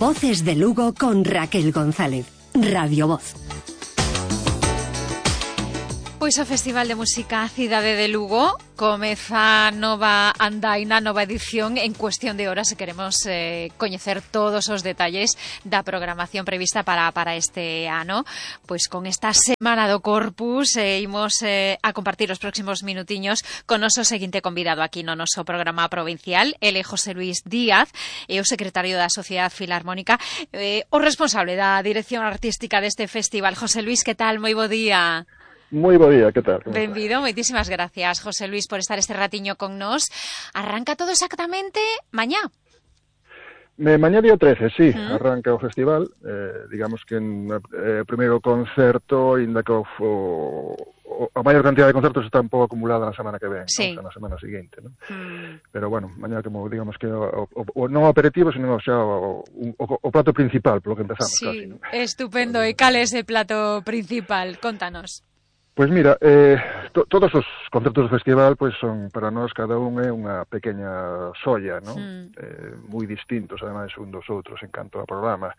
Voces de Lugo con Raquel González. Radio Voz. Pois o Festival de Música Cidade de Lugo comeza nova andaina, nova edición en cuestión de horas e queremos coñecer todos os detalles da programación prevista para este ano. Pois con esta Semana do Corpus imos a compartir os próximos minutiños con noso seguinte convidado aquí no noso programa provincial. Ele é José Luis Díaz, é o secretario da Sociedade Filarmónica, o responsable da dirección artística deste festival. José Luis, que tal? Moi bo día. Moi bo día, que tal? Benvido, moitísimas gracias, José Luis, por estar este ratiño con nós. Arranca todo exactamente mañá. Mañá día 13, sí, arranca o festival. Digamos que o primeiro concerto, ainda que a maior cantidad de concertos está un pouco acumulada na semana que ven, sí, ¿no? Na semana seguinte, ¿no? Pero bueno, mañá como digamos que non o aperitivo, sino xa o plato principal, polo que empezamos, sí, casi, ¿no? Estupendo. E cal é ese plato principal? Contanos. Pois mira, todos os concertos do festival pois son, para nós, cada un é unha pequena xoia, non? Moi distintos, ademais, un dos outros en canto ao programa.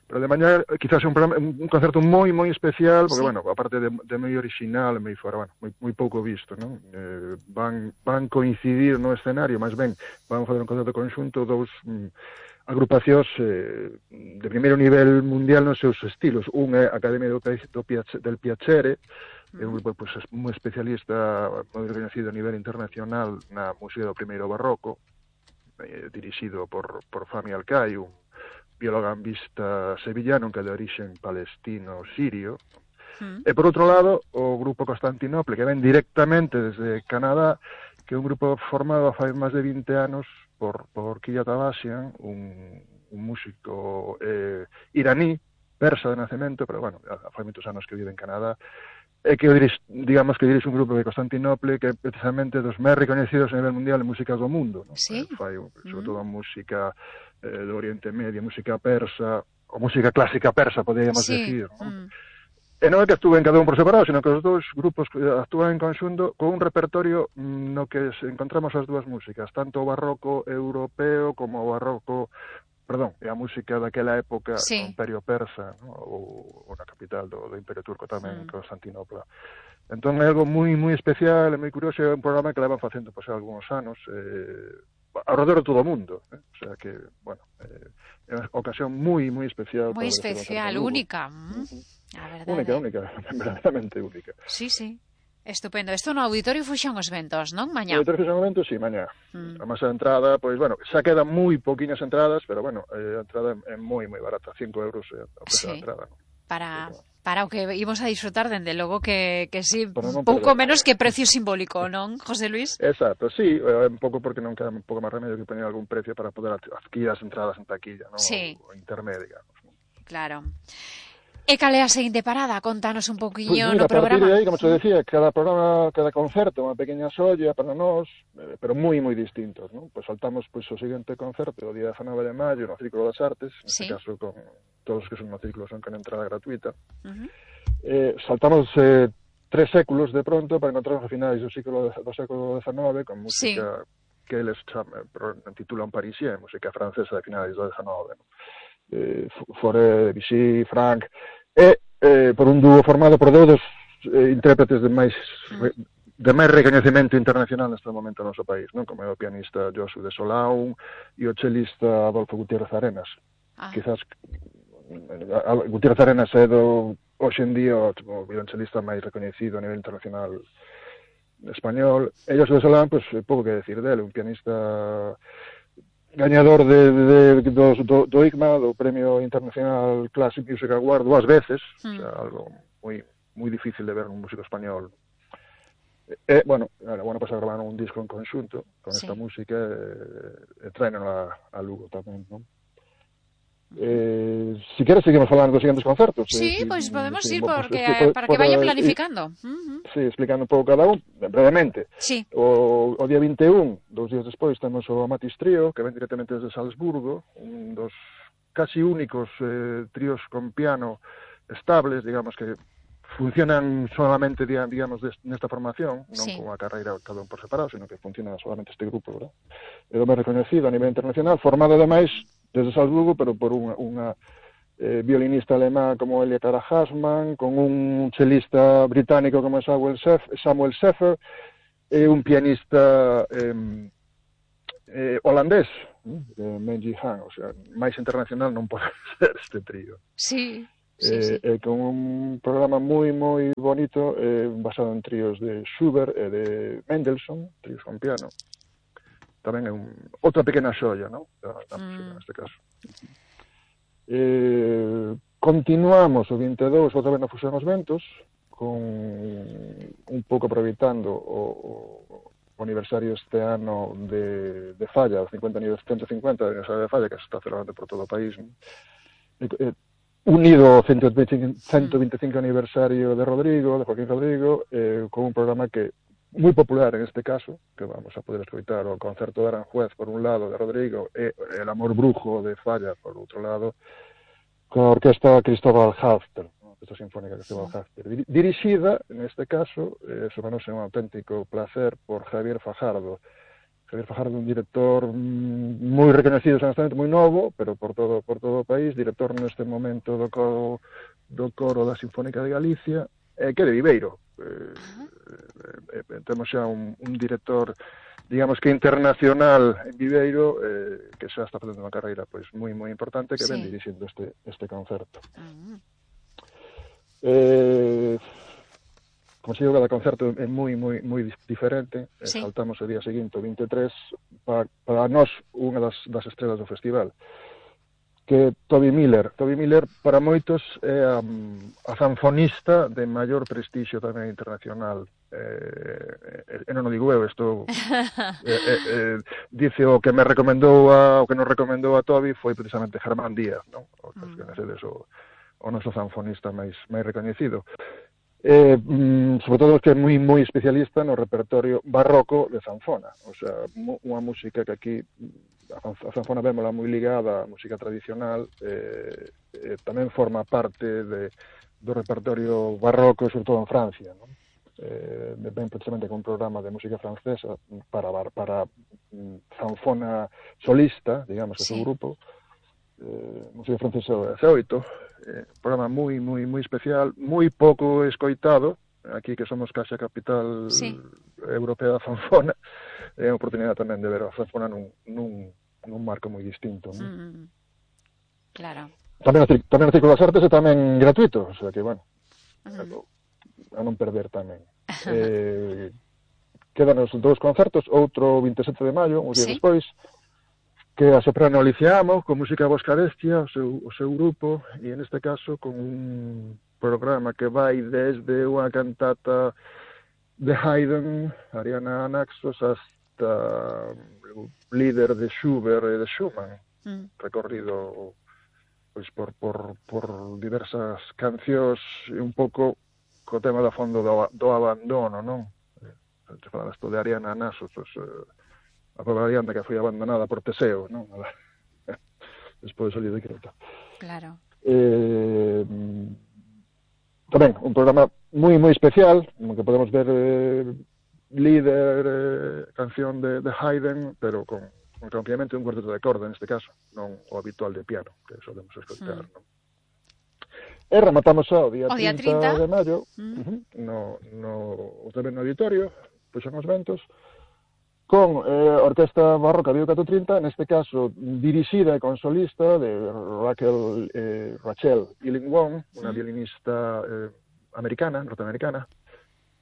Pero de mañá, quizás un concerto moi especial, porque, bueno, aparte de moi original, moi fora, bueno, moi pouco visto, non? Van coincidir no escenario, máis ben, van fazer un concerto conxunto dous agrupacións de primeiro nivel mundial nos seus estilos. Un é a Academia del Piacere, é un grupo pues, moi especialista, moi reconhecido a nivel internacional na música do primeiro barroco, dirixido por Fami Alcai, un biologambista sevillano que é de orixen palestino-sirio. E por outro lado, o grupo Constantinople, que ven directamente desde Canadá, que é un grupo formado fai máis de 20 anos por Kiyat Abbasian, un músico iraní, persa de nacemento, pero bueno, fai moitos anos que vive en Canadá, e que digamos que dirixe un grupo de Constantinople que é precisamente dos máis recoñecidos a nivel mundial en músicas do mundo, ¿no? Sí. Fai sobre todo a música do Oriente Medio, música persa, ou música clásica persa, poderíamos decir, ¿no? E non é que actúen cada un por separado, sino que os dous grupos actúan en conxunto con un repertorio no que encontramos as dúas músicas, tanto o barroco europeo como o barroco, é a música daquela época do Imperio Persa, ¿no? ou na capital do Imperio Turco tamén, Constantinopla. Entón é algo moi especial, é moi curioso, é un programa que levan facendo pois, algúns anos ao redor de todo o mundo, o sea que, bueno, é unha ocasión moi especial. Moi especial, única. A verdade. Única, verdadeiramente única. Sí. Estupendo. Isto no Auditorio Fuxón os Ventos, non? Mañá. No Auditorio Fuxón os Ventos, sí, mañá. A máis a entrada, pois, bueno, xa quedan moi poquinhas entradas, pero, bueno, a entrada é moi barata, 5 euros o precio da entrada, non? Para o que imos a disfrutar, dende logo que sí, pouco menos que precio simbólico, non, José Luis? Exacto, sí, un pouco porque non queda un pouco máis remedio que poñer algún precio para poder adquirir as entradas en taquilla, non? Sí. O intermedio, digamos. Claro. E cal é a seguinte parada? Contanos un poquinho pues mira, no programa. A partir de aí, como te decía, cada programa, cada concerto, unha pequena xoia para nós, pero moi distintos, non? Pois saltamos o seguinte concerto, o día 19 de maio, no Círculo das Artes, neste caso con todos os que son no círculo son con entrada gratuita. Saltamos 3 séculos de pronto para encontrarnos a finais do século XIX con música que eles titulan Parisien, música francesa de finais do XIX, non? Fauré, Debussy, Franck, por un dúo formado por dous intérpretes de máis recoñecemento internacional neste momento no noso país, non? Como é o pianista Josu de Solão e o chelista Adolfo Gutiérrez Arenas. Quizás Gutiérrez Arenas é hoxe en día o violonchelista máis recoñecido a nivel internacional español. E Josu de Solão, pois, pouco que decir dele, un pianista gañador do ICMA, do Premio Internacional Classic Music Award, 2 veces, o sea, algo moi difícil de ver nun músico español. Bueno, pasado gravaron un disco en conxunto con esta música e traen a Lugo tamén, non? Si queres seguimos falando dos seguintes concertos. Sí, pois podemos ir para que vaya planificando. Sí, explicando un pouco cada un, brevemente. Sí. O día 21, 2 días despois, temos o Amatis Trío, que ven directamente desde Salzburgo, un dos casi únicos tríos con piano estables, digamos, que funcionan solamente, digamos, nesta formación, non con a carreira cada un por separado, sino que funciona solamente este grupo, verdad? É o máis reconhecido a nivel internacional, formado ademais desde Salzburgo, pero por unha violinista alemá como Elia Cara Hassman, con un chelista británico como Samuel Seffer, e un pianista holandés, Menji Han, o sea, máis internacional non pode ser este trío. Sí. Con un programa moi bonito, basado en tríos de Schubert e de Mendelssohn, tríos con piano. Tamén é outra pequena xoia, non? Da música, neste caso. Continuamos o 22 outra vez na Fusión os Ventos, con un pouco aproveitando o aniversario este ano de Falla, o 150 aniversario de Falla, que se está celebrando por todo o país, unido ao 125 aniversario de Joaquín Rodrigo, con un programa que moi popular en este caso, que vamos a poder escoitar o concerto de Aranjuez por un lado de Rodrigo e El amor brujo de Falla por outro lado, coa orquesta Cristóbal Halfter, esta sinfónica Cristóbal Halfter, dirixida, neste caso, somenos un auténtico placer por Javier Fajardo. Javier Fajardo, un director moi reconhecido, honestamente, moi novo, pero por todo o país, director neste momento do coro da Sinfónica de Galicia, que é de Viveiro. Temos xa un director, digamos que internacional en Viveiro, que xa está facendo unha carreira pois moi importante, que ven dirixindo este concerto. Como se digo, cada concerto é moi diferente. Saltamos o día seguinte, o 23, para nós unha das estrelas do festival, que Toby Miller, para moitos, é a zanfonista de maior prestixio tamén internacional. E non o digo eu, isto dice o que nos recomendou a Toby foi precisamente Germán Díaz, non? O que coñecedes, o noso zanfonista máis recoñecido. Sobre todo que é moi especialista no repertorio barroco de zanfona, o sea, unha música que aquí a zanfona vémola moi ligada á música tradicional, tamén forma parte do repertorio barroco, sobre todo en Francia, non? Ben precisamente con un programa de música francesa para zanfona solista, digamos, ese grupo, música francesa C8, programa moi especial, moi pouco escoitado, aquí que somos case a capital europea da zanfona, é unha oportunidade tamén de ver a zanfona nun marco moi distinto. Claro. Tamén o Círculo das Artes é tamén gratuito, o sea que, bueno, a non perder tamén. Quedanos 2 concertos, outro 27 de maio, uns días despois, que a soprano Alicia Amo, con música Boscarestia, o seu grupo, e en este caso con un programa que vai desde unha cantata de Haydn, Ariana Naxos, hasta o líder de Schubert e de Schumann, recorrido pois por diversas cancións e un pouco co tema da fondo do abandono, non? Se fala isto de Ariana Naxos, a pobre Ariana que foi abandonada por Teseo, non? Despois salió de Creta. Claro. Tamén, un programa moi especial, no que podemos ver líder, canción de Haydn, pero con acompañamento un cuarteto de corda, neste caso, non o habitual de piano, que solemos escoitar, non? E rematamos o día 30 de maio, tamén no auditorio, Fusión os Ventos, con a Orquesta Barroca Bio 430, neste caso dirixida e con solista de Rachel Illingworth, unha violinista norteamericana,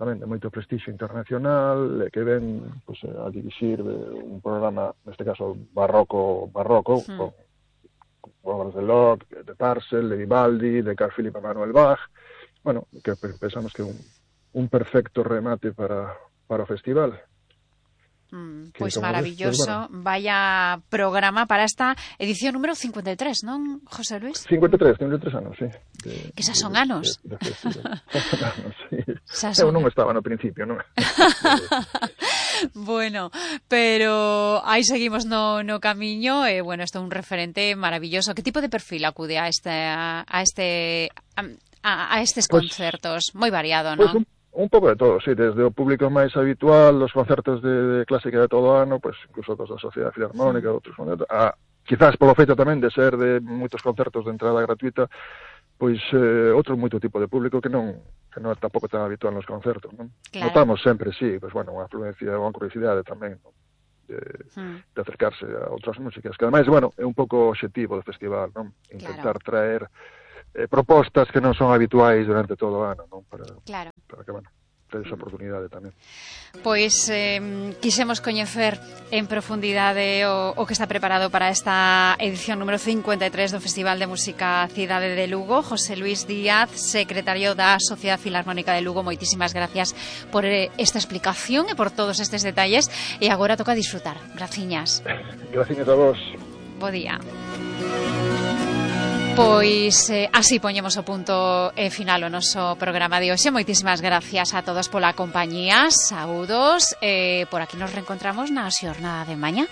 tamén de moito prestixio internacional, que ven a dirixir un programa, neste caso barroco, con obras de Locke, de Purcell, de Vivaldi, de Carl Philipp Emanuel Bach, bueno, que pensamos que é un perfecto remate para o festival. Pois maravilloso, vaya programa para esta edición número 53, non, José Luis? 53 anos, sí. Que xa son anos. Eu non estaba no principio, non? Bueno, pero aí seguimos no camiño e, bueno, isto é un referente maravilloso. Que tipo de perfil acude a estes concertos? Moi variado, non? Un pouco de todo, sí, desde o público máis habitual, os concertos de clásica de todo o ano, pues, incluso dos da Sociedade Filarmónica, outros concertos, a quizás polo feito tamén de ser de moitos concertos de entrada gratuita, pois outro moito tipo de público que non é tampouco tan habitual nos concertos, non? Claro. Notamos sempre, sí, pois bueno, unha afluencia, unha curiosidade tamén, non? De acercarse a outras músicas, que ademais, bueno, é un pouco o obxectivo do festival, non? Intentar traer propostas que non son habituais durante todo o ano, non? Para que, bueno, ter esa oportunidade tamén. Pois quixemos coñecer en profundidade o que está preparado para esta edición número 53 do Festival de Música Cidade de Lugo. José Luis Díaz, secretario da Sociedade Filarmónica de Lugo, moitísimas gracias por esta explicación e por todos estes detalles, e agora toca disfrutar. Graciñas. Graciñas a vos. Bo día. Pois así poñemos o punto final o noso programa de hoxe. Moitísimas gracias a todos pola compañía. Saúdos. Por aquí nos reencontramos na xornada de mañá.